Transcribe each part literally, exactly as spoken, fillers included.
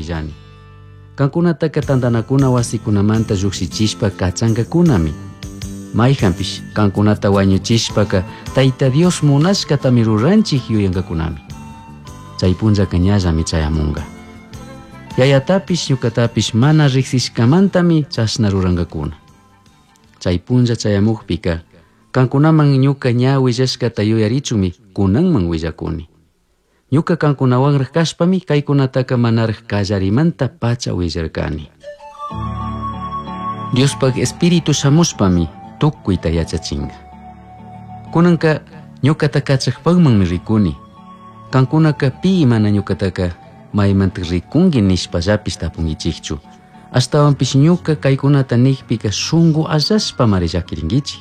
huillani. Cancunataca tandanacuna huasicunamanta llujshichishpa cachancacunami. Maijanpish cancunata huañuchishpaca Taita Dios munashcatami ruranchij yuyancacunami. Chai punllaca ñallami chayamunga. Yayatapish ñucatapish mana rijsishcamantami chashna rurancacuna. Chai punlla chayamujpica cancunaman ñuca ña huillashcata yuyarichunmi cunanman huillacuni. Ñuca cancunahuanraj cashpami caicunataca manaraj callarimanta pacha huillarcani. Diospaj Espíritu shamushpami tucuita yachachinga. Cunanca ñucata cachajpajmanmi ricuni. Cancunaca pi mana ñucataca maimanta ricungui nishpallapish tapunguichijchu. Ashtahuanpish ñuca caicunata nijpica shungu allashpamari llaquiringuichij.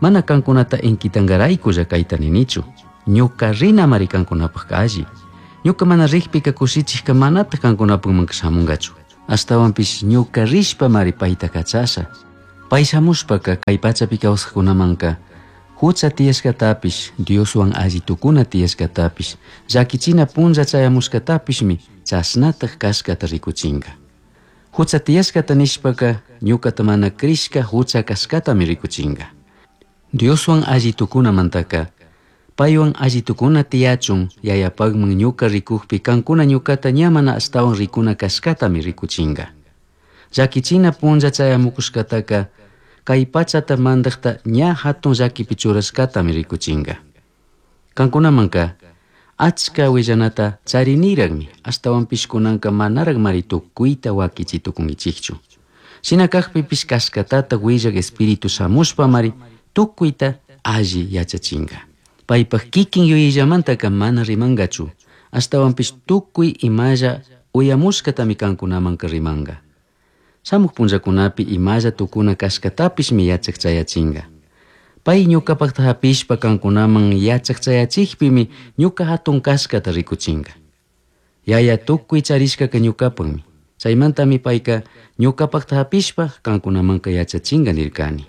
Mana cancunata inquitangaraykulla caita ninichu. Ñuca rinamari cancunapaj alli. Ñuca mana rijpica cushichijca manataj cancunapajmanca shamungachu. Ashtahuanpish ñuca rishpamari paita cachasha. Pai shamushpaca cai pachapi kawsajkunamanca hucha tiyashcatapish, Dioswan alli tucuna tiyashcatapish, llaquichina punlla chayamushcatapishmi chashnataj cashcata ricuchinga. Hucha tiyashcata nishpaca ñucata mana crishca hucha cashcatami ricuchinga. Dioswan alli tucunamantaca paiwan alli tucuna tiyachun yayapajman ñuca ricujpi cancuna ñucata ña mana ashtahuan ricuna cashcatami ricuchinga. Llaquichina punlla chayamucushcataca cai pachata mandajta ña jatun llaquipi churashcatami ricuchinga. Cancunamanca achca huillanata charinirajmi ashtahuanpish cunanca manarajmari tucuita huaquichi tucunguichijchu. Shina cajpipish cashcatata huillaj Espíritu shamushpamari tucuita alli yachachinga. Paipaj kikin yuyayllamantaca mana rimangachu, ashtahuanpish tucui imalla uyamushcatami cancunamanca rimanga. Shamuj punllacunapi imalla tucuna cashcatapishmi yachaj chayachinga. Pai ñucapajta japishpa cancunaman yachaj chayachijpimi ñuca jatun cashcata ricuchinga. Yaya tucui charishcaca ñucapajmi. Chaimantami paica ñucapajta japishpa cancunamanca yachachinga nircani.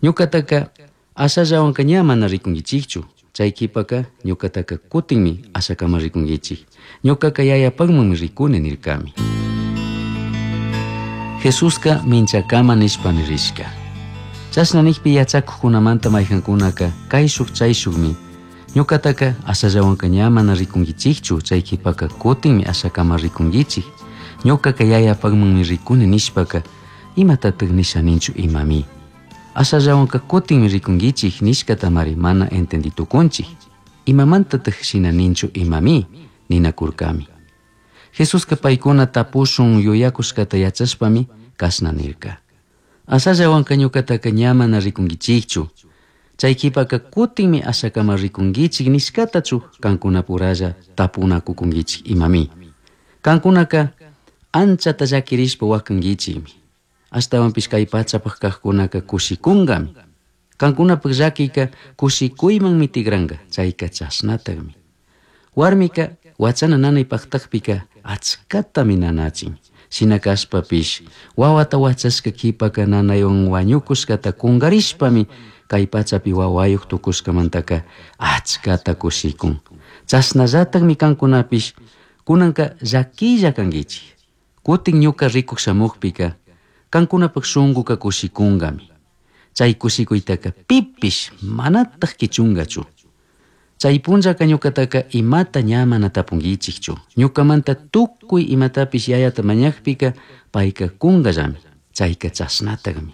Ñucataca ashallahuanca ña mana ricunguichijchu. Chai quipaca ñucataca cutinmi ashacama ricunguichij. Ñucaca yayapajmanmi ricuni nircami. Jesusca minchacama nishpami rishca. Chashna nijpi yachacujcunamanta maijancunaca caishuj chaishujmi ñucataca ashallahuanca ña mana ricunguichijchu, chai quipaca cutinmi ashacama ricunguichij. Ñucaca yayapajmanmi ricuni nishpaca imatataj nisha ninchu imami. Ashallahuanca cutinmi ricunguichij nishcatamari mana entendi tucunchij. Imamantataj shina ninchu imami ninacurcami. Jesusca paicuna tapushun yuyacushcata yachashpami cashna nirca. Ashallahuanca ñucataca ña mana ricunguichijchu. Chai quipaca cutinmi ashacama ricunguichij nishcatachu cancunapuralla tapunacucunguichij imami. Cancunaca anchata llaquirishpa huacanguichijmi. Ashtahuanpish cai pachapaj cajcunaca cushicungami. Cancunapaj llaquica cushicuymanmi tigranga, chaica chashnatajmi. Huarmica huachana nanay pajtajpica achcatami nanachin. Shina cashpapish huahuata huachashca quipaca nanaywan huañucushcata cungarishpami cai pachapi huahuayuj tucushcamantaca achcata cushicun. Chashnallatajmi cancunapish cunanca llaquilla canguichij. Cutin ñuca ricuj shamujpica cancunapaj shunguca cushicungami. Chai cushicuytaca pipish manataj quichungachu. Chai punllaca ñucataca imata ña mana tapunguichijchu. Ñucamanta tucui imatapish yayata mañajpica paica cungallami. Chaica chashnatajmi.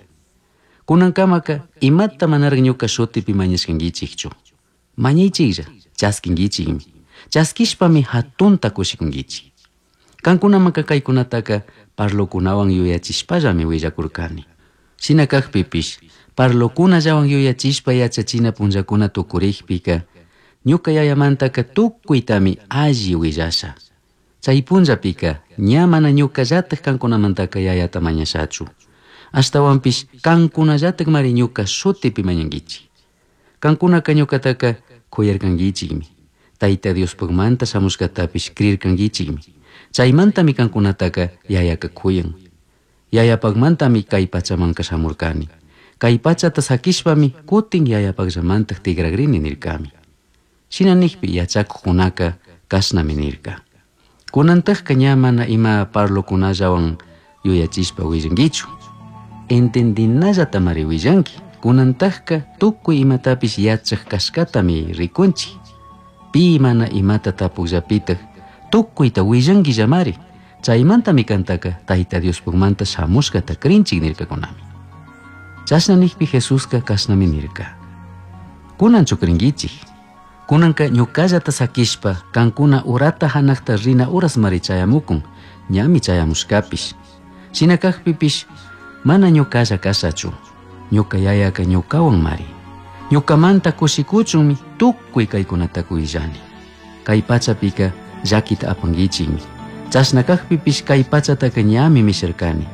Cunancamaca imata manaraj ñuca shutipi mañashcanguichijchu. Mañaichijlla, chasquinguichijmi. Chasquishpami jatunta cushicunguichij. Cancunamanca caicunataca parlocunahuan yuyachishpallami huillacurcani. Shina cajpipish parlocunallahuan yuyachishpa yachachina punllacuna tucurijpica ñuca yayamantaca tucuitami alli huillasha. Chai punllapica ña mana ñucallataj cancunamantaca yayata mañashachu. Ashtahuanpish cancunallatajmari ñuca shutipi mañanguichij. Cancunaca ñucataca cuyarcanguichijmi. Taita Diospajmanta shamushcatapish crircanguichijmi. Chaimantami cancunataca yayaca cuyan. Yayapajmantami cai pachamanca shamurcani. Cai pachata saquishpami cutin yayapajllamantaj tigragrini nircami. Shina nijpi yachacujcunaca cashnami nirca. Kunantajka ña mana ima parlokunallawan yuyachishpa willankichu. Entendinallatamari willanki. Kunantajka tukuy imatapish yachaj kashkatami rikunchik. Pi mana imata tapukllapitaj tukuyta willankillamari. Chaymantami kantaka Tayta Diospukmanta shamushkata krinchik nirkakunami. Chashna nikpi Jesuska kashnami nirka. Kunanchu krinkichik. Kunanka ñuqallata sakishpa kankuna urata hanaqta rina urasmari chayamukun, ñami chayamushkapish. Shina kaqpipish mana ñuqalla kashachu. Ñuqa yayaka ñuqawan mari. Ñuqamanta kushikuchunmi tukuy kaykunata willani. Kay pachapika llakita apankichikmi. Chashna kaqpipish kay pachataka ñami misharkani.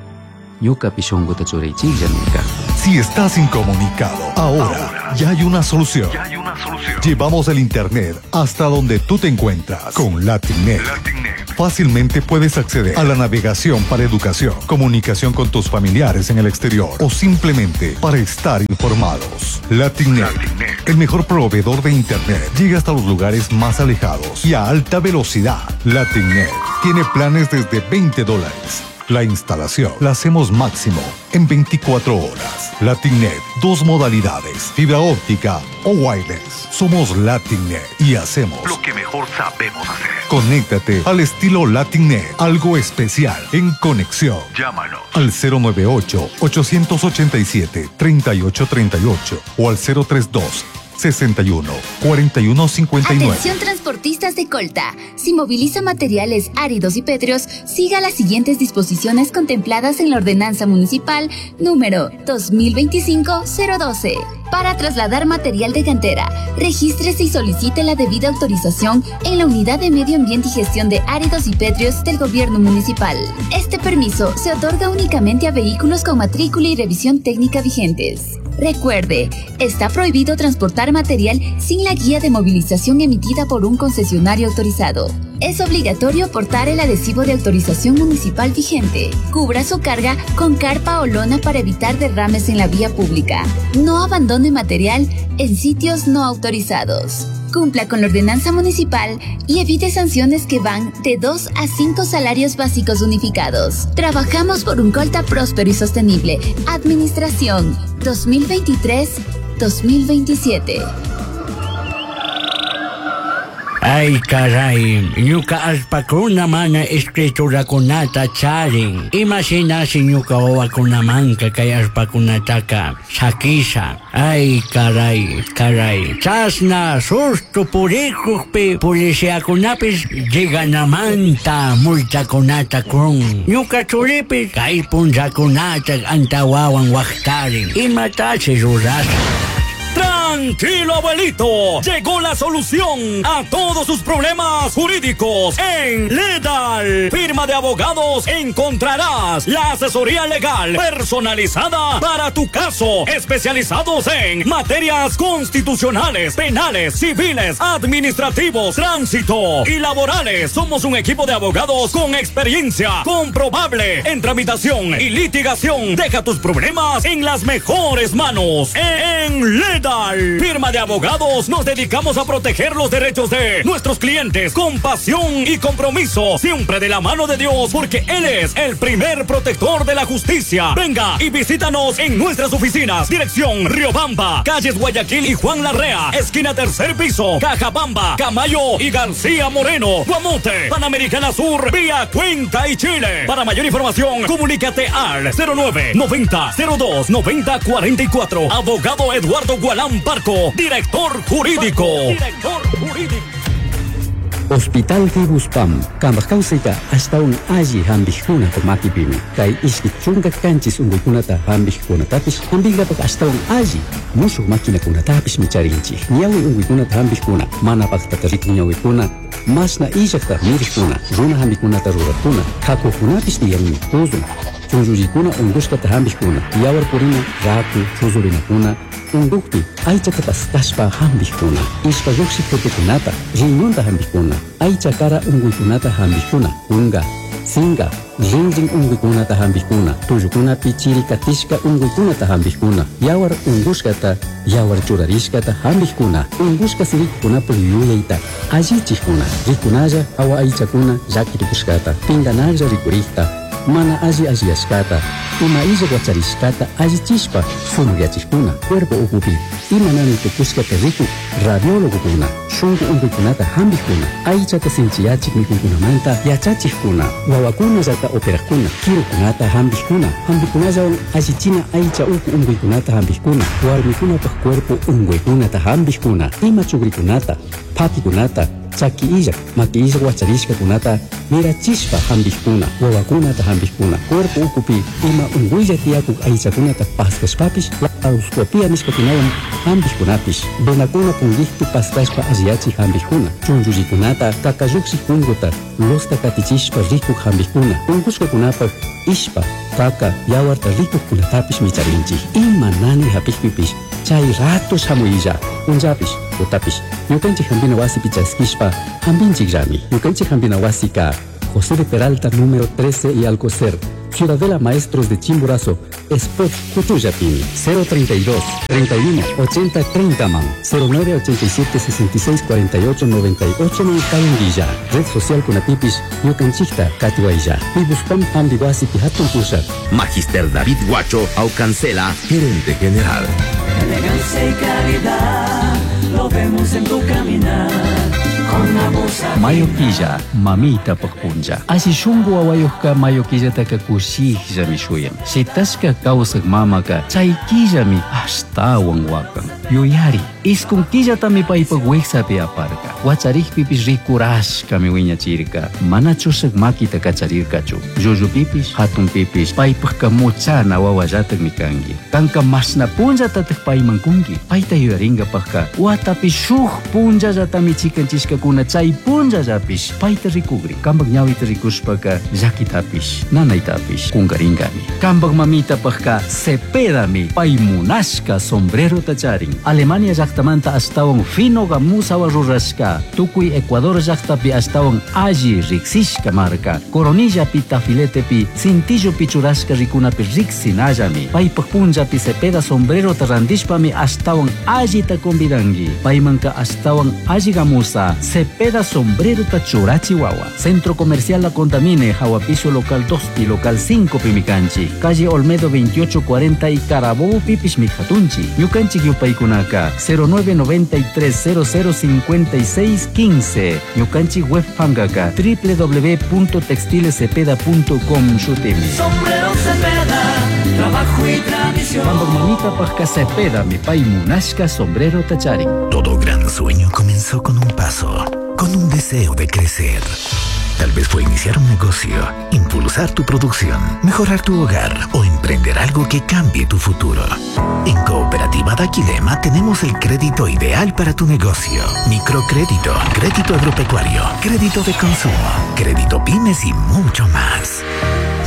Ñuqapi shunquta churaychiklla nirka. Si estás incomunicado, ahora ya hay una solución. Ya hay una solución. Llevamos el internet hasta donde tú te encuentras con LatinNet. LatinNet. Fácilmente puedes acceder a la navegación para educación, comunicación con tus familiares en el exterior o simplemente para estar informados. LatinNet, LatinNet. el mejor proveedor de internet, llega hasta los lugares más alejados y a alta velocidad. LatinNet tiene planes desde veinte dólares. La instalación la hacemos máximo en veinticuatro horas. LatinNet, dos modalidades, fibra óptica o wireless. Somos LatinNet y hacemos lo que mejor sabemos hacer. Conéctate al estilo LatinNet, algo especial en conexión. Llámanos al cero nueve ocho, ochocientos ochenta y siete, treinta y ocho treinta y ocho o al cero tres dos, sesenta y uno, cuarenta y uno, cincuenta y nueve. Atención transportistas de Colta. Si moviliza materiales áridos y pétreos, siga las siguientes disposiciones contempladas en la Ordenanza Municipal número dos mil veinticinco cero doce. Para trasladar material de cantera, regístrese y solicite la debida autorización en la Unidad de Medio Ambiente y Gestión de Áridos y Pétreos del Gobierno Municipal. Este permiso se otorga únicamente a vehículos con matrícula y revisión técnica vigentes. Recuerde, está prohibido transportar material sin la guía de movilización emitida por un concesionario autorizado. Es obligatorio portar el adhesivo de autorización municipal vigente. Cubra su carga con carpa o lona para evitar derrames en la vía pública. No abandone material en sitios no autorizados. Cumpla con la ordenanza municipal y evite sanciones que van de dos a cinco salarios básicos unificados. Trabajamos por un Colta próspero y sostenible. Administración dos mil veintitrés dos mil veintisiete. Ay, caray, ñuka allpakuna mana escriturakunata charin. Imashinashi ñuka wawakunamanka kay allpakunataka sakisha. Ay, caray, caray. Chasna susto purikukpi policiakunapis lleganamanta multakunata kun. Ñuka churipi kay punllakunata antawawan waqtarin. Imatashi rurasha. Tranquilo, abuelito. Llegó la solución a todos sus problemas jurídicos en Ledal. Firma de abogados encontrarás la asesoría legal personalizada para tu caso. Especializados en materias constitucionales, penales, civiles, administrativos, tránsito y laborales. Somos un equipo de abogados con experiencia comprobable en tramitación y litigación. Deja tus problemas en las mejores manos. En Ledal, firma de abogados, nos dedicamos a proteger los derechos de nuestros clientes con pasión y compromiso, siempre de la mano de Dios, porque Él es el primer protector de la justicia. Venga y visítanos en nuestras oficinas. Dirección Riobamba, calles Guayaquil y Juan Larrea, esquina tercer piso, Cajabamba, Camayo y García Moreno, Guamote, Panamericana Sur, vía Cuenca y Chile. Para mayor información, comunícate al cero nueve noventa cero dos noventa cuarenta y cuatro. Abogado Eduardo Gualán Parco, director jurídico. Director jurídico. Hospital Fibuspam, kambaj kawsayta ashtawan alli hampikkunata makipimi. Kay ishki chunka kanchis unquykunata hampikkunatapish hampinkapak ashtawan alli mushuq maquinakunatapish micharinchik. Ñawi unquykunata hampikkuna, mana paqtata rikun ñawikuna, mashna illaqta mirikkuna, runa hampikunata rurakuna, hakukunapish tiyanmi tuzun. Chunllullikuna unqushkata hampikkuna, yawar purina, raku, chuzurinakuna, unqukpi aychata paskashpa hampikkuna, ishpa lluqshiq tutukunata, riñonta hampikkuna, aycha kara unquykunata hampikkuna, kunka, sinka, Rinrin unquykunata hampikuna, tullukunapi chirikatishka unquykunata hampikuna, yawar unqushkata, yawar churarishkata hampikuna, unqushka sirikukunapaq yuyayta allichikuna, rikunalla hawa aychakuna llakitukushkata, pinganalla rikurikta, mana alli alliyashkata, ima illa wacharishkata allichishpa sumakyachikuna, cuerpo ukupi ima nanay tukushkata rikuk radiólogokuna, shunku unquykunata hampikuna, aychata sinchiyachik mikuykunamanta yachachikkuna, wawakunallata operakuna, kirukunata hampikuna, hampikunallawan allichina aycha uku unquykunata hampikuna, warmikunapaq cuerpo unquykunata hampikuna, ima chukrikunata, phakikunata, chaki illak, maki illak wacharishkakunata mirachishpa hampikuna, wawakunata hampikuna, cuerpo ukupi ima unquylla tiyakuk aychakunata paskashpapish laparoscopia nishkakunawan hampikkunapish, venakuna punkikpi paskashpa alliyachik hampikuna, chunchullikunata kakallukshik punkuta losta katichishpa rikuk hampikuna, unqushkakunapaq ishpa, kaka, yawarta rikukkunatapish micharinchik. Ima nanay hapikpipish chay rato shamuylla, punllapish, tutapish, ñukanchik hampina wasipi chaskishpa hampinchikllami. Ñukanchik hampina wasika José de Peralta número trece y Alcocer, Ciudadela Maestros de Chimborazo, Spot Cuchuyapini, cero treinta y dos, treinta y uno, ochenta, treinta man, cero nueve ochenta y siete, sesenta y seis, cuarenta y ocho, noventa y ocho man Kayunguilla, Red Social Kunatipis, Ñukanchikta, Katiwaya, Pibuspam Hambiwasi Pihatun Pusha. Magister David Guacho Aucancela, gerente general. Elegancia y calidad, lo vemos en tu caminar. Mayo killa, mamita punlla. Así shungu wawayuqqa mayo killataka kushikllami shuyan. Shitashka kawsaq mamaka chay killami ashtawan wakan. Yuyari, iskun killatami paypaq wiksapi aparka. Wacharikpipish rikurashkami wiñachirka. Mana chushaq makita kacharirkachu. Llullupipish, hatunpipish, paypaqqa muchana wawallataqmi kanki. Kanka mashna punllatataq payman kunki. Payta yuyarinkapaqqa watapi shuk punllallatami chikanchishkakuna chay punllallapish payta rikugri. Kampak ñawita rikushpaka llakitapish, nanaytapish kunkarinkami. Kampak mamitapaqqa Cepedami pay munashka sombrerota charin. Alemania llaqtamanta ashtawan fino gamusawa rurashka. Tukuy Ecuador llaqtapi ashtawan alli riksishka marka. Coronillapi tafiletepi cintillopi churashka rikunapi riksinallami. Paypaq punllapi Cepeda sombrerota rantishpami ashtawan allita convidanki. Paymanka ashtawan alli gamusa Cepeda sombrerota churachiwawa. Centro Comercial La Contamine, Jahuapiso local dos y local cinco Pimicanchi. Calle Olmedo veintiocho cuarenta y Carabobo Pipish Mijatunchi. Ñukanchik yupaykunaka cero nueve noventa y tres cero cero cincuenta y seis quince. Ñukanchik web pangaka doble u doble u doble u punto textiles cepeda punto com shutimi. Sombrero Cepeda, trabajo y tradición. Pambak mamita pajka Cepeda, mi pay munashka sombrero tacharin. Todo gran sueño comenzó con un paso, con un deseo de crecer. Tal vez fue iniciar un negocio, impulsar tu producción, mejorar tu hogar o emprender algo que cambie tu futuro. En Cooperativa Daquilema tenemos el crédito ideal para tu negocio. Microcrédito, crédito agropecuario, crédito de consumo, crédito pymes y mucho más.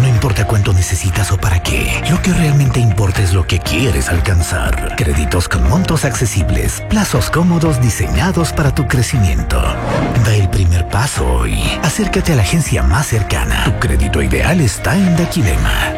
No importa cuánto necesitas o para qué, lo que realmente importa es lo que quieres alcanzar. Créditos con montos accesibles, plazos cómodos diseñados para tu crecimiento. Da el primer paso hoy. Acércate a la agencia más cercana. Tu crédito ideal está en Daquilema.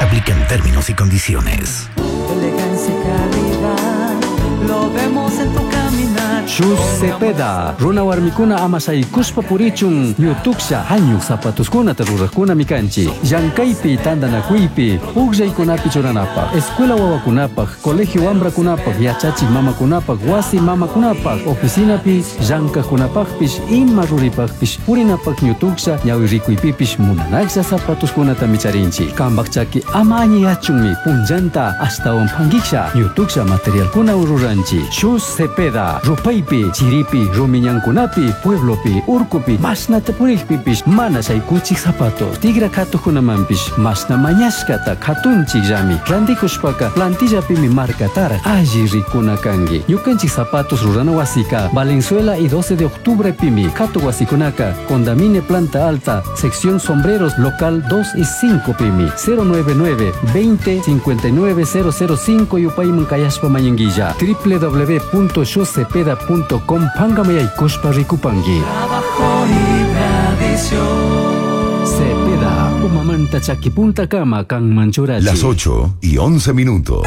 Aplican términos y condiciones. Elegancia y calidad, lo vemos en tu caminar. Shus Cepeda, runa warmikuna amasaykuspa purichun, ñutuksha hañuk zapatuskunata ruraqkuna mikanchi, llankaypi tantanakuypi, pukllaykunapi churanapaq, escuela wawakunapaq, colegio wamrakunapaq, yachachik mamakunapaq, wasi mamakunapaq, oficinapi llankaqkunapaqpish, ima ruripaqpish, purinapaq ñutuksha ñawi rikuypipish munanaqlla zapatuskunata micharinchik. Kampaq chaki ama añiyachunmi punllanta ashtawan pankiksha ñutuksha materialkuna ruranchik. Shus Cepeda, rupay chiripi, rumiñankunapi, pueblopi, urkupi, mashnata purikpipish, mana shaykuchik zapatos, tigra katukunamanpish, mashna mañashkata katunchikllami, rantikushpaka plantillapimi markataraq alli rikuna kanki. Ñukanchik zapatos rurana wasika, Valenzuela y doce de octubre pimi, katu wasikunaka, Condamine Planta Alta, sección sombreros, local dos y cinco pimi, cero nueve nueve, veinte, cincuenta y nueve, cero cero cinco yupayman kayashpa mañanguilla, doble u doble u doble u punto shuscepeda punto com pangamayaykushpa rikupanki. Trabajo y tradición. Cepeda, Umamanta chakipuntakama kanman churachi. Las ocho y once minutos.